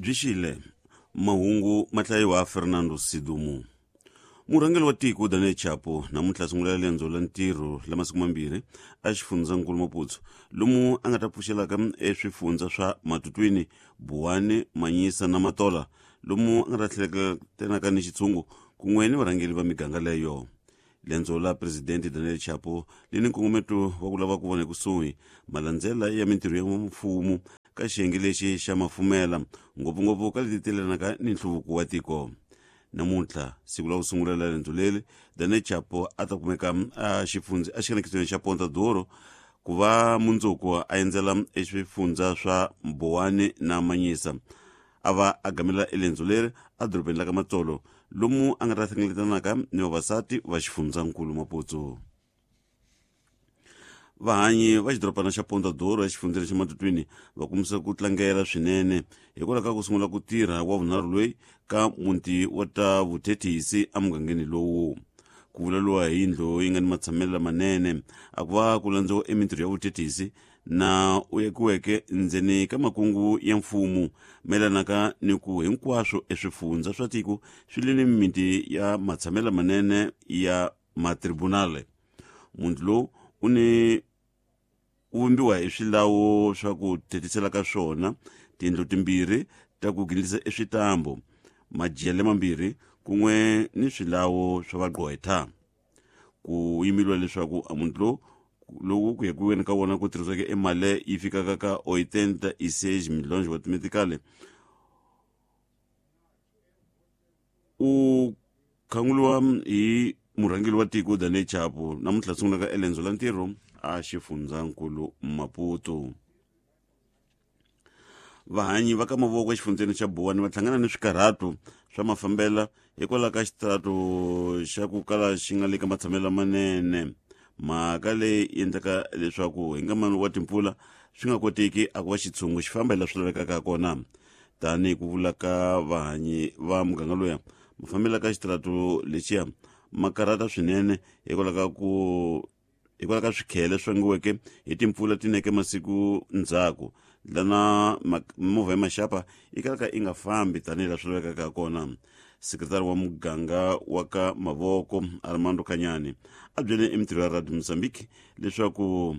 Byi xile mahungu ma hlayiwa Fernando Sidumo. Murhangeri wa tiko Daniel Chapo namuntlha sungula lendzo la ntirho la masiku mambirhi exifundzhankulu Maputo lomu a nga ta pfuxelaka eswifundza swa Matutwini, Buwani, Manyisa na Matola lomu a nga ta tlheleketanaka ni xitshungu kun'we ni varhangeri va miganga leyo. Lendzo la Presidente Daniel Chapo li ni nkongometo wa ku lava ku vona ekusuhi malandzela ya mintirho ya mfumo ka xiyenge lexi xa mafumela ngopfungopfu ka leti telanaka ni nhluvuko wa tiko. Namuntlha siku la ku sungula la lendzo leri Daniel Chapo a ta kumeka a xifundzi exikanekisweni xa Ponta Duro ku va mundzuku a endzela eswifundza swa Mbowani na Manyisa a va a gamela elendzo leri edorobeni la ka Matsolo lomu a nga ta hlengeletanaka ni vavasati va xifundzankulu Maputo. Vahanyi va xidorobana xa Ponta Duro exifundzeni xa Matutwini va kombisa ku tlangela swinene hikwalaho ka ku sungula ku tirha wa vunharhu loyi ka muti wa ta vuthethisi emugangeni lowu. Ku vulavuriwa hi yindlu yi nga ni matshamelo lamanene a ku va ku landziwa emintirho ya vuthethisi na u yakiweke ndzeni ka makungu ya mfumo mayelanaka ni ku hinkwaswo eswifundza swa tiko swi le ni mimiti ya matshamelo lamanene ya matribunale. Muti lowu u ni u vumbiwa hi swilawo swa ku thetisela ka swona tindlu timbirhi ta ku gindlisa eswitambo majele mambirhi kun'we ni swilawo swa vagqwetha ku yimeliwa leswaku a muti lowu lowu ku yakiweni ka wona ku tirhisiweke emali yi fikaka ka 86 milhões wa timetikale u khanguliwa hi murhangeri wa tiko Daniel Chapo namuntlha sungulaka elendzo la ntirho a xifundzankulu Maputo. Vahanyi va ka mavoko exifundzeni xa Buwani va hlangana ni swikarhato swa mafambela hikwalaho ka xitirato xa ku kala xi nga le ka matshamelo lamanene mhaka leyi endlaka leswaku hi nkamani wa timpfula swi nga koteki a ku va xitshungu xi famba hi laha swi lavekaka kona tanihi ku vula ka vahanyi va muganga loya mafambelo ka xitirato lexiya ma karhata swinene hikwalaho ka ku hikwalaho ka swikhele swi vangiweke hi timpfula ti neke masiku ndzhaku lana mimovha ya maxapa yi kalaka yi nga fambi tanihi laha swi lavekaka ha kona sekretari wa muganga wa ka mavoko armando kanyani a byele emintirho ya radio mozambique leswaku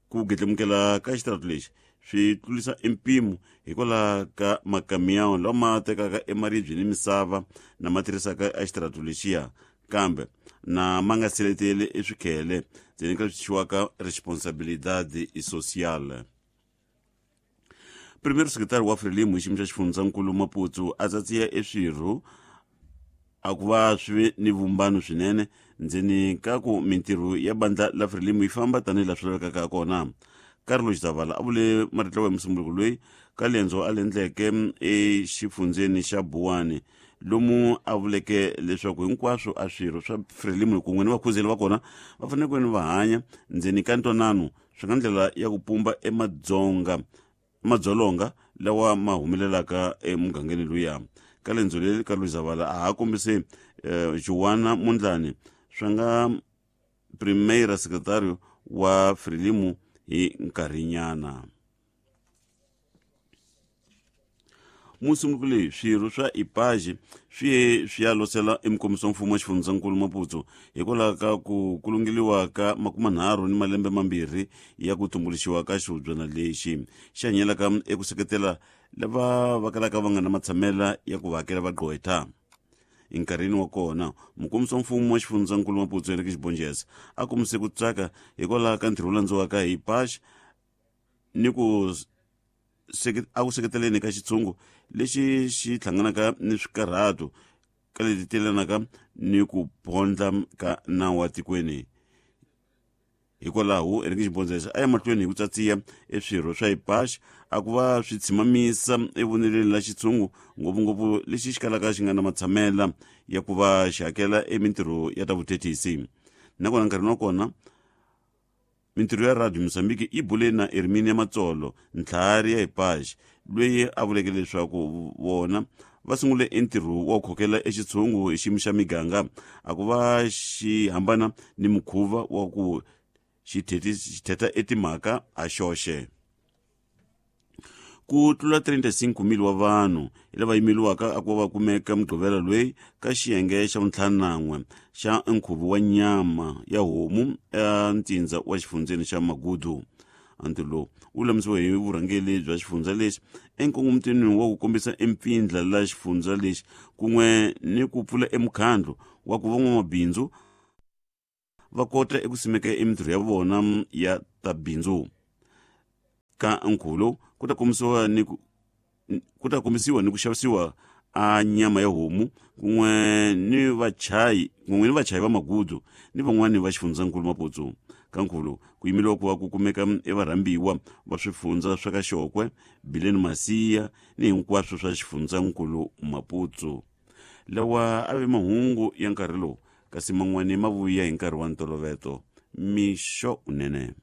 Ku gedlemukela ka xitirato lexi swi tlurisa empimo hikwalaho ka makamiyawu lama tekaka emaribye ni misava na ma tirhisaka exitirato lexiya kambe na ma nga seleteli eswikhele ndzeni ka leswi thyiwaka responsabilidade social. Premier Secretary wa Frelimo hi xiyimo xa xifundzankulu Maputo a tsatsiya eswirho a ku va swi ve ni vumbano swinene ndzeni ka ku mintirho ya bandla la Frelimo yi famba tanihi laha swi lavekaka ha kona. Carlos Zavala a vule marito lawa hi Musumbhunuko loyi ka lendzo a lendleke exifundzeni xa Buwani lomu a vuleke leswaku hinkwaswo a swirho swa Frelimo kun'we ni vakhuzeli va kona va fanele ku va hanya ndzeni ka ntwanano swi nga ndlela ya ku pumba emadzonga madzolonga lawa ma humelelaka emugangeni luya ka lendzo leri ka Luzavala a ha kombise Joana Mondlane swa nga primeira secretario wa Frelimo hi nkarhinyana. Musunguri leyi swirho swa IPAJ swi ye swi ya losela emukomisi wa mfumo wa xifundzankulu Maputo hikwalaho ka ku kulungeliwa ka makumanharhu ni malembe mambirhi ya ku tumbuluxiwa ka xihubyana lexi xi hanyelaka eku seketela lava va kalaka va nga na matshamela ya ku va hakela vagqwetha. Enkarhini wa kona mukomisi wa mfumo wa xifundzankulu Maputo Henrique Xibonjeza a kombise ku tsaka hikwalaho ka ntirho wu landziwaka hi IPAJ ni ku a ku seketeleni ka xitshungu lexi xi hlanganaka ni swikarhato ka leti telanaka ni ku pondla ka nawu wa tikweni hikwalaho Henrique Xibondzesa a ya mahlweni hi ku tsatsiya eswirho swa ipax a ku va swi tshimamisa evoneleni la xitshungu ngopfungopfu lexi xi kalaka xi nga na matshamela ya ku va xi hakela emintirho ya ta vuthethisi nakona nkarhini wa kona Mintirho ya Radio Mozambique yi bule na Herminia Matsolo, ntlhari ya Ipage, loyi a vuleke leswaku vona va sungule entirho wa ku khokela exitshungu hi xiyimo xa miganga a ku va xi hambana ni mukhuva wa ku xi thetha etimhaka ha xoxe. Ku tlula 35,000 wa vanhu hi lava yimeliwaka a ku va va kumeka Mugqivela loyi ka xiyenge xa vuntlhanu-na-n'we xa nkhuvo wa nyama ya homu entsindza wa xifundzeni xa Magudu. Ntirho lowu wu lulamisiwe hi vurhangeri bya xifundza lexi enkongomitweni wa ku kombisa empfindla la xifundza lexi kun'we ni ku pfula emukhandlu wa ku van'wamabindzu va kota eku simeka emintirho ya vona ya ta bindzu. Ka nkhuvo lowu ku ta kombisiwa ni ku ku ta kombisiwa ni ku xavisiwa a nyama ya homu kun'we ni vachayi kun'we ni vachayi va magudu ni van'wani va xifundzankulu Maputsu. Ka nkhuvo lowu ku yimeliwa ku va ku kumeka evarhambiwa va swifundza swa ka Xokwe, Bileni Masiya ni hinkwaswo swa xifundzankulu Maputsu. Lawa a ve mahungu ya nkarhi lowu kasi man'wani ma vuya hi nkarhi wa ntoloveto. Mixo unene.